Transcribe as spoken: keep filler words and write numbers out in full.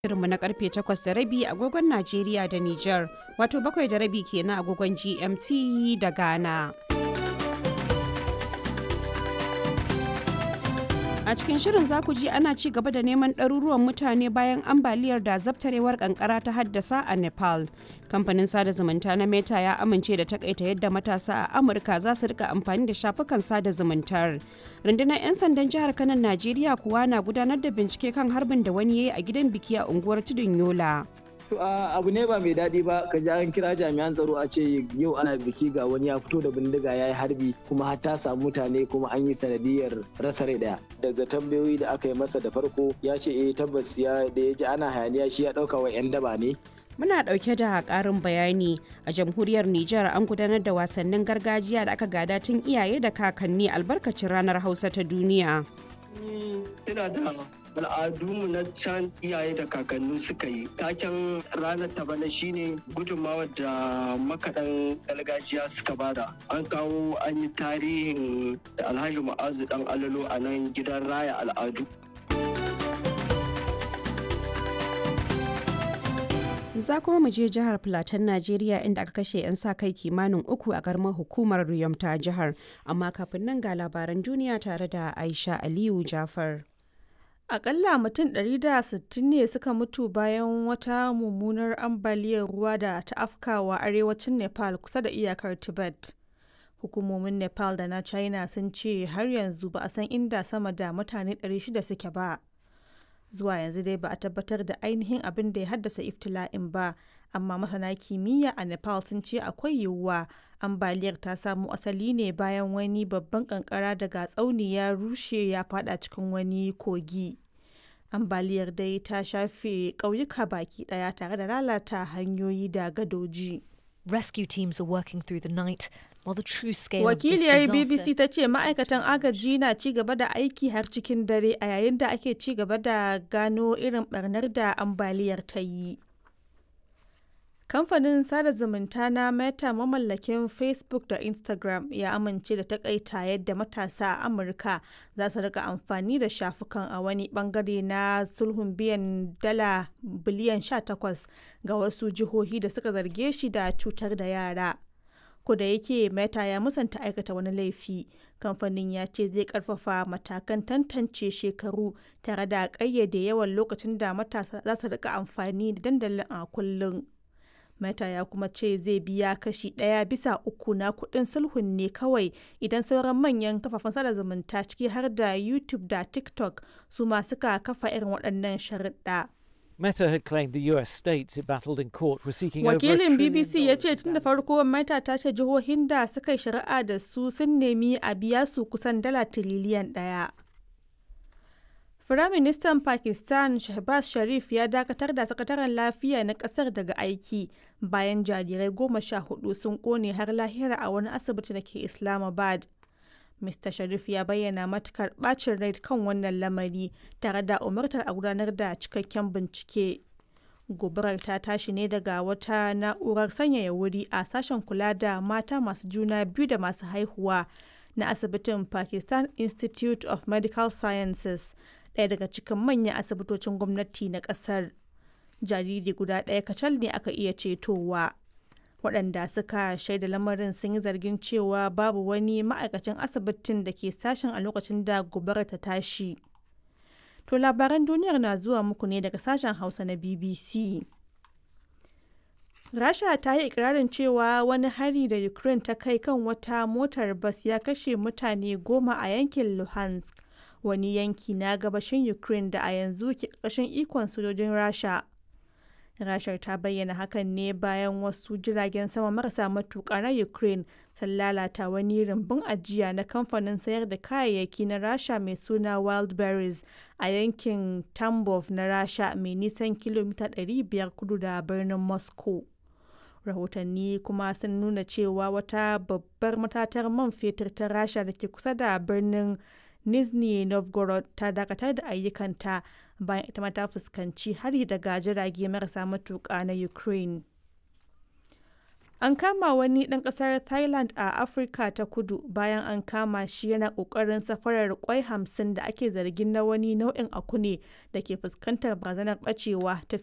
Shirinmu na karfe takwas da rabi agogon Najeriya da Nijar, wato bakwai da rabi kenan agogon G M T da Ghana. A cikin shirin za ku ji ana ci gaba da neman ɗaruruwan mutane bayan ambaliyar da zabtarewar kankara ta haddasa a Nepal. Kamfanin sada zumunta na Meta ya amince da takaita yadda matasa a Amurka za su rika amfani da shafukan sada zumuntar. Rundunar 'yan sandan jihar Kano, Najeriya kuwa na gudanar da bincike kan harbin da wani ya yi a gidan biki a unguwar Tudun Yola. Abu ne ba mai daɗi ba ka ji an kira jami'an tsaro a ce yau ana biki, ga wani ya fito da bindiga ya yi harbi, kuma har ta samu mutane, kuma an yi sanadiyar rasa rai daya. Daga tambayoyi da aka yi masa da farko, ya ce eh, tabbas ya da ya ji ana hayaniya shi ya ɗauka wa 'yan daba ne. Muna ɗauke da ƙarin bayani. A jamhuriyar Nijar an gudanar da wasannin gargajiya da aka gada tun iyaye da kakanni albarkacin ranar Hausa ta duniya. Ina da al'adunmu na can iyaye da kakanni suka yi. Taken ranar ta bana shine gudunmawar da makaɗan gargajiya suka bada. An kawo an yi tarihin Alhaji Ma'azu Dan Alalo a nan gidan raya al'adu. Za kuma mu je jihar Filatan, Najeriya, inda aka kashe 'yan sa kai kimanin uku a karamar hukumar Riyom ta jihar. Amma kafin nan ga labaran duniya tare da Aisha Aliyu Jafar. Akalla mutum ɗari da sittin ne suka mutu bayan wata mummunar ambaliyar ruwa da ta afkawa arewacin Nepal kusa da iyakar Tibet. Hukumomin Nepal da na China sun ce har yanzu ba a san inda sama da mutane ɗari shida suke ba. Zuwa yanzu dai ba a tabbatar da ainihin abin da ya haddasa iftila'in ba, amma masana kimiyya a Nepal sun ce akwai yiwuwa ambaliyar ta samo asali ne bayan wani babban kankara daga tsauni ya rushe ya fada cikin wani kogi. Ambaliyar dai ta shafe ƙauyuka baki ɗaya tare da lalata hanyoyi da gadoji. Rescue teams are working through the night while the true scale of this Wakiliyar disaster B B C ta ce ma'aikatan agaji na ci gaba da aiki har cikin dare a yayin da ake ci gaba da gano irin barnar da ambaliyar ta yi. Kamfanin sada zumunta na Meta, mamallakin Facebook da Instagram, ya amince da takaita yadda matasa a Amurka za su rika amfani da shafukan a wani bangare na sulhun biyan dala biliyan sha takwas ga wasu jihohi da suka zarge shi da cutar da yara. Ko da yake Meta ya musanta aikata wani laifi, kamfanin ya ce zai karfafa matakan tantance shekaru tare da ƙayyade yawan lokacin da matasa za su rika amfani da dandalin a kullum. Meta ya kuma ce zai biya kashi ɗaya bisa uku na kuɗin sulhun ne kawai idan sauran manyan kafafen sada zumunta, ciki har da YouTube da TikTok, su ma suka kafa irin waɗannan sharuɗa. Meta had claimed the U S states it battled in court were seeking over a Wakilin trillion B B C ya dollars ce in tun da damages. farko Meta ta ce jihohin da suka yi shari'a da su sun nemi a biya su kusan dala tiriliyan ɗaya. Firaministan Pakistan Shehbaz Sharif ya dakatar da sakataren lafiya na kasar daga aiki bayan jarirai goma sha hudu sun kone har lahira a wani asibiti da ke Islamabad. Mister Sharif ya bayyana matukar bacin rai kan wannan lamari tare da umartar a gudanar da cikakken bincike. Gobarar ta tashi ne daga wata na'urar sanyaya wuri a sashen kula da mata masu juna biyu da masu haihuwa na asibitin Pakistan Institute of Medical Sciences, ɗaya daga cikin manyan asibitocin gwamnati na ƙasar. Jariri guda ɗaya kacal ne aka iya cetowa. Waɗanda suka shaida lamarin sun yi zargin cewa babu wani ma'aikacin asibitin da ke sashen a lokacin da gobarar ta tashi. To, labaran duniyar na zuwa muku ne daga sashen Hausa na B B C. Rasha ta yi ikirarin cewa wani hari da Ukraine ta kai kan wata motar bas ya kashe mutane goma a yankin Luhansk, wani yanki na gabashin Ukraine da a yanzu ke ƙarƙashin ikon sojojin Rasha. Rashar ta bayyana hakan ne bayan wasu jiragen sama marasa matuƙa na Ukraine sun lalata wani rumbun ajiya na kamfanin sayar da kayayyaki na Rasha mai suna Wildberries a yankin Tambov na Rasha, mai nisan kilomita ɗari biyar kudu da birnin Moscow. Rahotanni kuma sun nuna cewa wata babbar matatar man fetur ta Rasha da ke kusa da birnin Nizhny Novgorod ta dakatar da ayyukanta bayan ita ma ta fuskanci hari daga jirage marasa matuƙa na Ukraine. An kama wani ɗan ƙasar Thailand a Afirka ta Kudu bayan an kama shi yana ƙoƙarin safarar ƙwai hamsin da ake zargin na wani nau'in aku ne da ke fuskantar barazanar ɓacewa ta